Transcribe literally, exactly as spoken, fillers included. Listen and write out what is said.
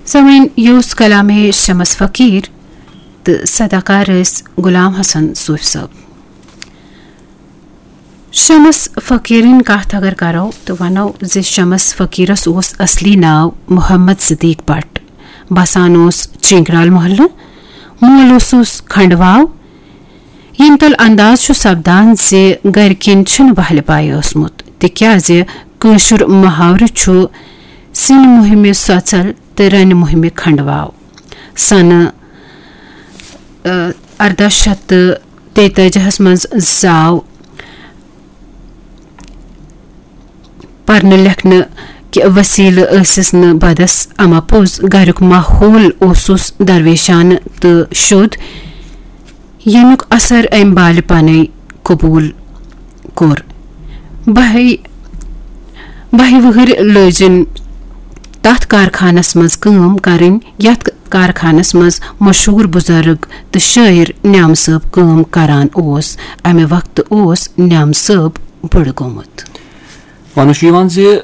سامعین، یہِ اوس کلامِ شمس فقیٖر تہٕ صداکار ٲسۍ غلام حسن صوفی صٲب۔ شمس فقیٖرٕنۍ کتھ اگر کرو تہٕ ونو زِ شمس فقیٖرس اوس اصلی ناو محمد صدیق بٹ، بسان اوس چینگرال محلہٕ، مول اوسُس کھنڈواو۔ ییٚمہِ تل انداز چھُ سپدان زِ گرِکٮ۪ن چھُنہٕ بہلہِ پاے اوسمُت، تِکیازِ کٲشُر محاورٕ چھُ سِنۍ مُہِمہِ سۄژل تہٕ رنہِ مُہِمہِ کھنڈواو۔ سنہٕ، ٲ، ارداہ شیٚتھ تہٕ تیتٲجی ہس منٛز زاو۔ پرنہٕ لیکھنہٕ کہِ وسیلہٕ ٲسِس نہٕ بدس، اما پوٚز گرُک ماحول اوسُس درویشانہٕ تہٕ شوٚد، ییٚمیُک اثر أمۍ بالہِ پنے قبول کوٚر۔ بہہِ، بہہِ وُہٕرۍ لٲجِن تتھ کارخانس منٛز کٲم کرٕنۍ، یتھ کارخانس منٛز مشہوٗر بزرگ تہٕ شٲعر نیام صٲب کٲم کران اوس۔ امہِ وقتہٕ اوس نیام صٲب بُڑٕ گوٚمُت۔ وننہٕ چھُ یِوان زِ